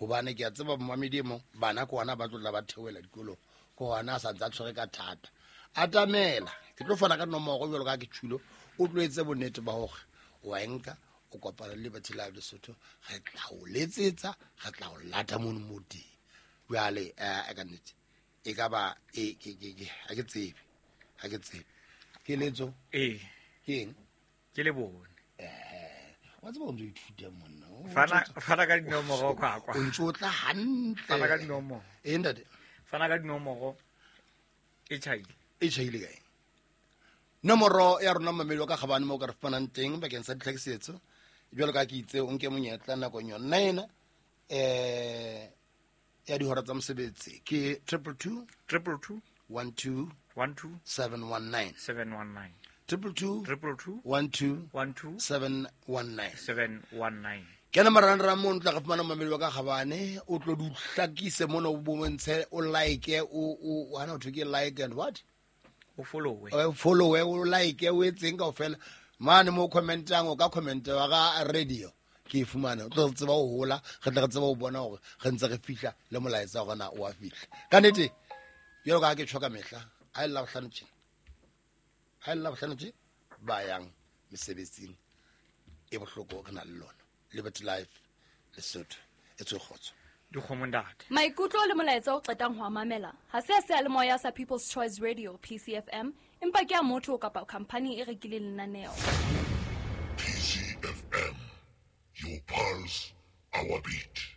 Gobane ke a tseba momamedi e mong bana ke ona ba tlotla ba theoela dikolong, ke ona a santse a tshwere ka thata. Atamela, ke tlo fana ka nomoro jalo ka ke tšhulo, o tlo etse bonnete ba gore wa e nka, o kopana le Liberty Live Lesotho, re tla o letsetsa, re tla o lata mono mo teng. Jwale ka nnete e ka ba e ke ke ke ha ke tsebe, ha ke tsebe. Keletso Ee. Ke eng? Ke le bone. Wa tseba o ntse o ithuta monna. Fana ka dinomoro kwakwa. O ntse o tla hantle. Fana ka dinomoro. Ee, ntate. Fana ka dinomoro. E tjhaile. E tjhaile kae? Nomoro ya rona mamedi wa ka gabane mo o ka re fumanang teng bakeng sa ditlhakisetso. Jwalo ka ke itse o nke monyetla nakong yona ena ya dihora tsa mosebetsi ke 222 222 12 12 719 719 222 222 12 12 719 719. Kena marangrang mono tla re fumana mamedi wa ka gabane, o tlo di hlakise mono, o bontshe, o like, o hana ho thwe ke like and what? O follow. O follow, o like, o etseng kaofela. Mane mo commentang, o ka commenta wa ga radio. Ke e fumane, o tlo re tseba ho hola, re tle re tsebe ho bona hore re ntse re fihla le molaetsa wa rona o a fihla. Ka nnete, jwalo ka ha ke tjho ka mehla, ha e le Labohlano tjena, ha e le Labohlano tje, ba yang mesebetsing e bohloko re na le lona. Liberty Life Lesotho, e tswe kgotso. Dikgomo ntate. Maikutlo le molaetsa o qetang ho a mamela ha se a seyalemoya sa People's Choice Radio PCFM, empa ke a motho kapa khampani e rekileng lenaneo. PCFM, your pulse, our beat.